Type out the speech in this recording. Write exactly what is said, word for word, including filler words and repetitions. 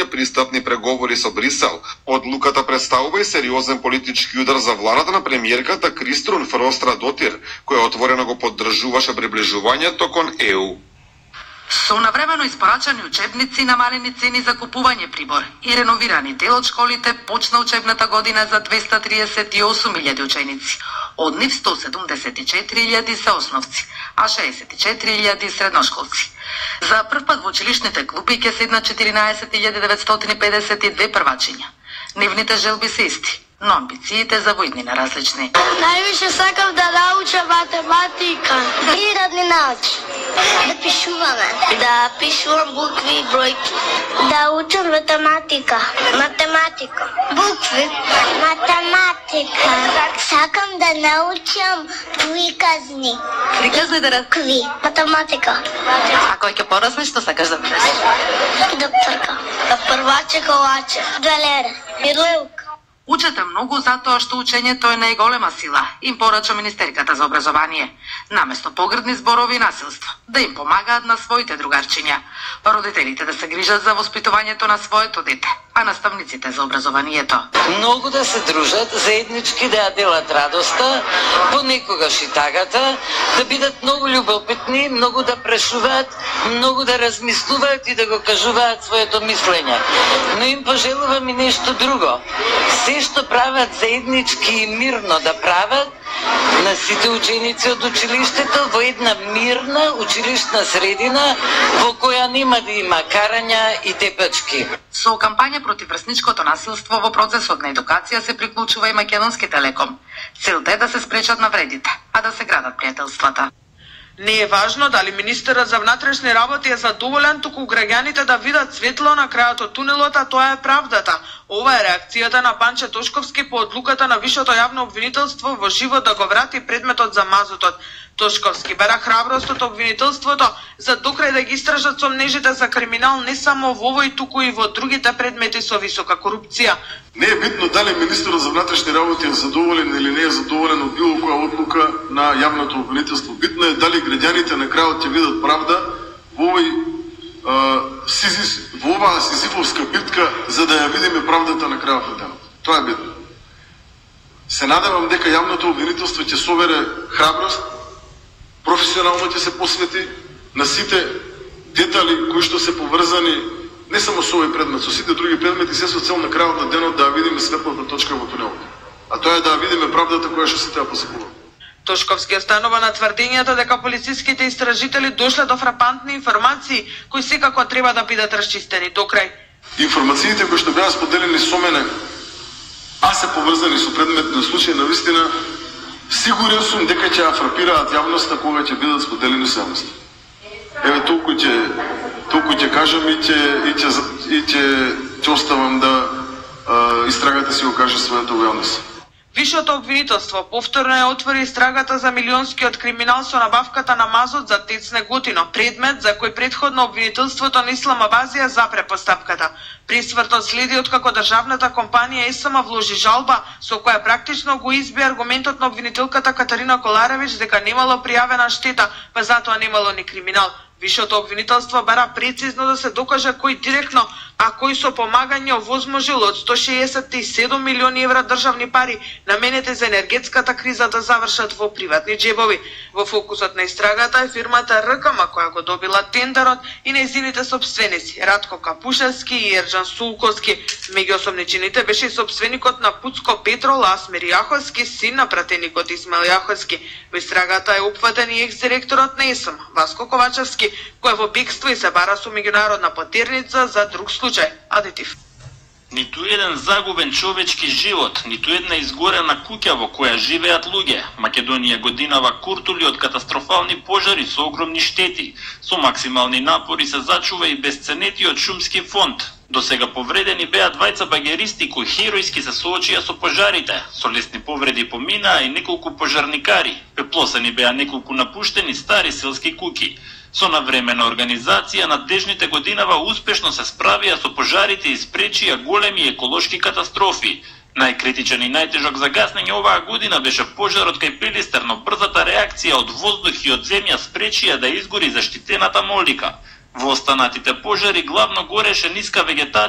почнале пристапни преговори со Брисел. Одлуката представува и сериозен политички удар за владата на премиерката Криструн Фрострадотир, која отворено го поддржуваше приближувањето кон Е У. Со навремено испорачани учебници, намалени цени за купување прибор и реновирани дел од школите, почна учебната година за двеста триесет и осум илјади ученици. Од нив сто седумдесет и четири илјади се основци, а шеесет и четири илјади средношколци. За прв пат во училишните клупи ќе седнат четиринаесет илјади деветстотини и педесет и две првачиња. Нивните желби се исти, но амбициите за воиднина различни. Највише сакам да научам математика и родни науки. Да пишуваме. Да пишувам букви и бројки. Да учам математика. Математика. Букви. Математика. Сакам да научам приказни. Приказни да раз... Кви. Математика. А кој ќе порасне, што сакаш да бидеш? Докторка. Да прваче колаче. Две и лелка. Учете многу затоа што учењето е најголема сила, им порача Министерката за образование. Наместо погрдни зборови и насилство, да им помагаат на своите другарчиња. Родителите да се грижат за воспитувањето на своето дете, а наставниците за образованието. Многу да се дружат, заеднички да ја делат радоста, понекогаш и тагата, да бидат многу љубопитни, многу да прешуваат, многу да размислуваат и да го кажуваат своето мислење. Но им пожелувам и нешто друго. Се што прават заеднички и мирно да прават, на сите ученици од училиштето во една мирна училишна средина во која нема да има карања и тепачки. Со кампања против врсничкото насилство во процесот на едукација се приклучува и Македонски телеком. Целта е да се спречат навредите, а да се градат пријателствата. Не е важно дали министерот за внатрешни работи е задоволен, туку граѓаните да видат светло на крајот од тунелот, а тоа е правдата. Ова е реакцијата на Панче Тошковски по одлуката на Висшето јавно обвинителство во живот да го врати предметот за мазутот. Тошковски бара храброст од обвинителството за докрај да ги истражат сомнежите за криминал не само во овој, туку и во другите предмети со висока корупција. Не е битно дали министерот за внатрешни работи е задоволен или не е задоволен од било која одлука на јавното обвинителство. Битно е дали граѓаните на крајот ќе видат правда во овој во оваа сизифовска битка, за да ја видиме правдата на крајот на денот. Тоа е битно. Се надевам дека јавното обвинителство ќе собере храброст, професионално ќе се посвети на сите детали кои што се поврзани не само со овој предмет, со сите други предмети, се со цел на крајот на денот да видиме светлата точка во тунелот. А тоа е да видиме правдата која што сите ја посекува. Тошковски останува на тврдењето дека полициските истражители дошле до фрапантни информации кои секако треба да бидат расчистени до крај. Информациите кои што беа споделени со мене, а се поврзани со предметни случаи, навистина сигурен сум дека ќе ја фрапираат јавноста кога ќе бидат споделени со јавноста. Еве толку ќе толку ќе кажам и ќе и ќе и ќе ќе оставам да а, истрагата си го каже своето во јавност. Висшето обвинителство повторно ја отвори истрагата за милионскиот криминал со набавката на мазот за ТЕЦ Неготино, предмет за кој претходно обвинителството на Исламабазија запре постапката. Пресвртот следи откако државната компанија ЕСМ вложи жалба со која практично го изби аргументот на обвинителката Катарина Коларевич дека немало пријавена штета, па затоа немало ни криминал. Висшето обвинителство бара прецизно да се докаже кој директно, а кој со помагање овозможил од сто шеесет и седум милиони евра државни пари наменети за енергетската криза да завршат во приватни џебови. Во фокусот на истрагата е фирмата РКМ која го добила тендерот и нејзините сопственици Радко Капушевски и Ерџан Сулковски. Меѓу осомничените беше и сопственикот на Пуцко Петрол Асмир Јаховски, син на пратеникот Исмаил Јаховски. Во истрагата е опфатен и екс-директорот на ЕСМ Васко Ковачевски, кој е во бегство и се бара со меѓународна потерница за друг случај. Адитив. Ниту еден загубен човечки живот, ниту една изгорена куќа во која живеат луѓе. Македонија годинава куртули од катастрофални пожари со огромни штети. Со максимални напори се зачува и безценетиот шумски фонд. До сега повредени беа двајца багеристи кои херојски се соочија со пожарите. Со лесни повреди поминаа и неколку пожарникари. Пеплосани беа неколку напуштени стари селски куќи. Со навремена организација надежните годинава успешно се справија со пожарите и спречија големи еколошки катастрофи. Најкритичен и најтежок за гаснење оваа година беше пожарот кај Пилистер, но брзата реакција од воздух и од земја спречија да изгори заштитената молика. Во останатите пожари главно гореше ниска вегетација